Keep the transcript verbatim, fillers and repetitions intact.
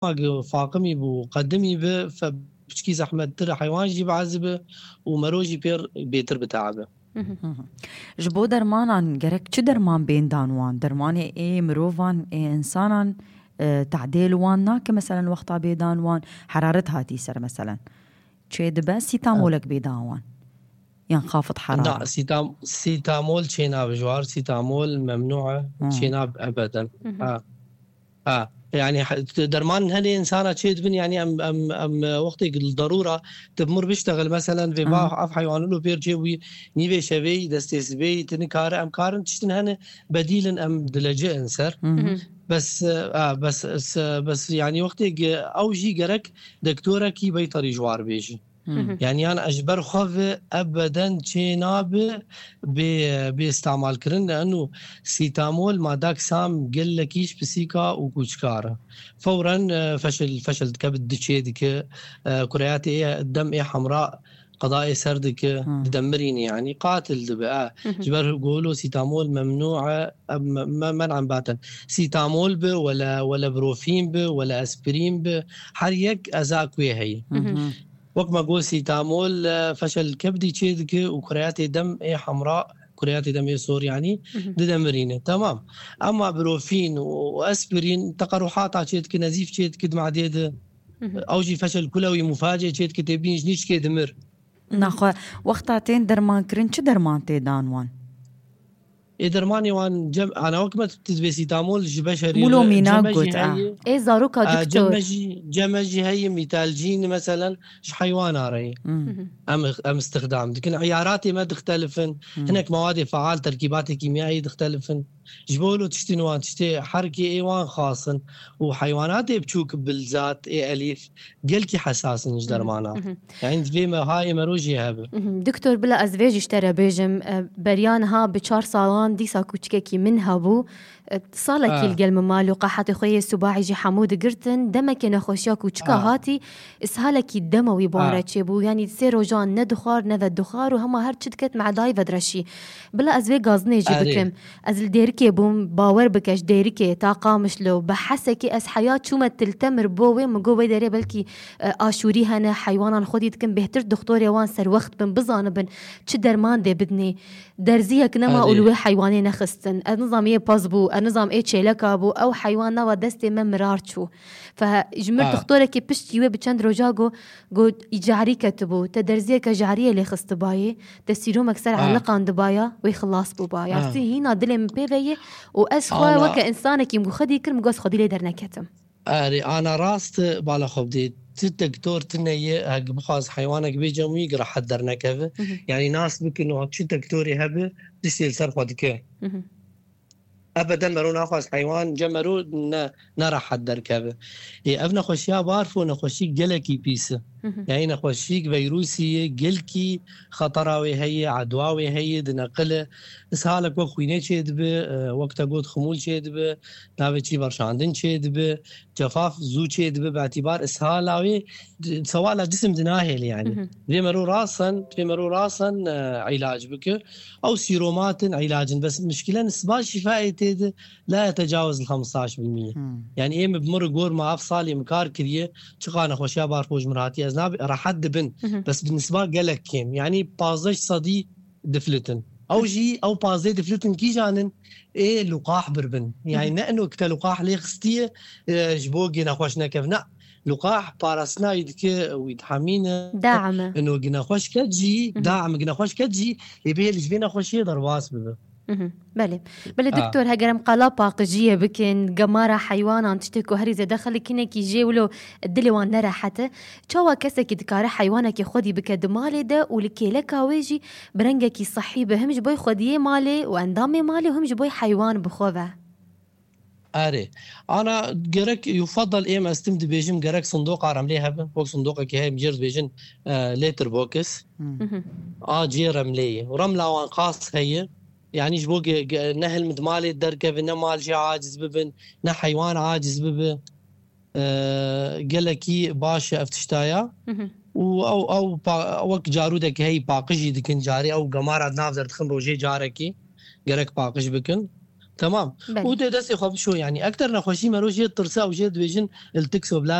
ma faqimî bû, qedimî bi, fe piçkî zehmettir heywan jî biezî bi û mero jî pêr bêtir biteabi. Ji bo dermanan gerek çi derman bên dan wan? Dermanê ê mirovan, ê insanan, e, tadê li wan nake, meselen wexta bê dan wan heraret hatî ser, meselen. Çê dibe sîtamolek bê dan wan. Yan xafit heraret. Na, sîtam, sîtamol çê nabe ji war, sîtamol memnû e, çê nabe ebeden. Ha. Ha, yani derman hene insana çê dibin, yani em, em, em wextê darûra tu bi mir biştexil, meselen vê va ev heywanilo pêr çê wî nîvê şevê, destê sibê, tu nikare, em karin tiştin hene bedîlin em dilece in ser. Bes, e, a, bes, s- bes yani wextê ge- ew jî gerek dektorekî beytarî ji war bêjî. Yanî yan ez ji ber xwe ve ebeden çê nabe bê, bê îstemal kirin. Leno sîtamol madak sam gelekî ji pisîka û kûçikar e. Fewren, e, feşil, feşil dike, bi diçê dike, e, kureyatê ê dem ê hemra qedayê ser dike, didemirîne yanî, qatil dibe. E. Ji ber golo sîtamol memnû e, em, me, men'en baten. Sîtamol bi, wele, wele brofîn bi, wele aspirîn bi, her yek ezak wê heye. Wek me got, sîtamol, e, feşel kebdî çê dike û kureyatê dem ê hemra, kureyatê dem ê sor, yanî didemirîne. Temam. Ema brofîn û aspirîn teqerruhata çê dike, nezîf çê dike di madê de. Ew jî feşel kulewî mufacê çê dike, tê bîn ji nîçkê dimir. Naxwe, wexta tên dermankirin, çi derman tê dan wan? Ê dermanê wan cem, ana wek me tu dibê sîtamol ji beşerî Mûlo re, mîna cem me jî got, a. heye. Ê zaroka A, cem diktor. me jî, cem me jî heye mîtalcîn, meselen, ji heywana re ye. Em, em istixdam dikin. Îyaratê me dixtelifin. Hinek mewadê faal, terkîbatê kîmyayî dixtelifin. Ji bo lo tiştên wan, tiştê herkê ê wan xasin û heywanatê biçûk bilzat ê elîf gelkî hesas in ji dermana. Yani divê me hayê mero jê hebe. Doktor, bila ez vê jî ji te re bêjim, e, beriya niha bi çar salan dîsa kûçikekî min hebû. E, salekî Ha. li gel min ma, lûqa hetê xwe yê sibaî jî hemû digirtin. Demekê nexweşiya kûçika Ha. hatî, ishalekî dema wî bare Ha. çêbû. Yanî sê rojan ne dixwar, ne vedixwar û hema her çi diket medayî vedireşî. Bila ez vê gazinê jî Erê. bikim. Ez li Dêrikê bûm, bawer bike ji Dêrikê ta Qamişlo, bi hesekê ez heya çûme Til Temir bo wê, min got wê derê belkî, e, aşûrî hene, heywanan xwedî dikin, bêhtir dixtorê wan serwext bin, bizanibin çi derman dê bidinê. Derziyek nema û Erê. li wê heywanê nexistin. Ez nizam yê pez bû, ez nizam ê çêleka bû, ew heywan nava destê me mirar çû. Fe ji mir Ha. dixtorekî piştî wê bi çend roja got, got, î carî ketibû, te derziyeke cariyê lê xistibayê, te sîromek ser Ha. eliqandibaya, wê xilas bûbaya. Ha. Tî hîna dilê min pê ve ye û ez xwe Ana weke însanekî min xwedî kir, min got ez xwedî lê derneketim. Erê, ana rast, bala xwe bidê. Ti doktor tune ye, hek bixwaz heywanek bê cem wî, rehet dernekeve. Mhm. Yanî nas bikin, û çi doktorê hebe, tiştê li ser xwe dike. Mhm. Ebeden mero naxwaz heywan cem mero ne, ne rehet derkeve. Ê, ev nexweşiya barfo nexweşîk gelekî pîs e. Mhm. Yanî nexweşîk veyrûsî ye, gelkî xetera wê heye, edwa wê heye, dineqile. Ishalek wek xwînê çêdibe, e, wek te got ximûl çêdibe, navê çî berşandin çêdibe, cefaf zû çêdibe, bi etîbar ishala wê, d-, sewala cisim dinahêle yanî. Mhm. Vê mero rasen, vê mero rasen, e, îlac bike. Ew sîromatin îlacin, bes mişkile nisba şîfayê tê de la yetecawez li xemstaş bil mîye. Hmm. Yanî ê min bi mir gor ma ev salê min kar kiriye, çiqa nexweşiya barfo ji mir hatiye, ez nabe rehet dibin. Mhm. Bes bi nisba gelek kêm. Yanî pazdeh sedî diflitin. Ew jî, ew pazdeh diflitin kîjan in? Ê luqah birbin. Yanî ne ino kite luqah lê xistiye, e, ji bo gê nexweş nekevin. Na, luqah parastina wî dike, wî dihemîne. Daim e. Ino ginexweş ket jî, Mhm. daim ginexweş ket jî, ê bihêl ji vê nexweşiyê derbas bibe. Mhm. Belê. Belê Ha. doktor, heger em qala paqijiyê bikin, gemara heywanan, tiştê ku herî zêde xelk hinekî jê wilo dilê wan nerehet e. Çawa kesekî dikare heywanekî xwedî bike di malê de û li kêleka wê jî bi rengekî sehî be, him ji bo xwediyê malê û endamê malê û him ji bo heywan bi xwe ve? Erê. Ana gerek yufadal êm ez tim dibêjim gerek sindoqa remlê hebe. Wek sindoqekî heye em jê re dibêjin, e, litter box. Hmm. Mhm. A cê remlê ye. Remla wan qas heye. Yanî ji bo ge-, ge-, ne hilm di malê derkeve, ne mal jê aciz bibin, ne heywan aciz bibe. E, gelekî baş e ev tiştaya. Mhm. Û ew, ew pa-, wek carûdek heyî paqijî dikin, carê ew gemara di nav derdixin rojê carekî gerek paqij bikin. Tamam. Û dê destê xwe bişo, yanî ekter nexweşî mero jê tirsa û jê dibêjin il tikso bila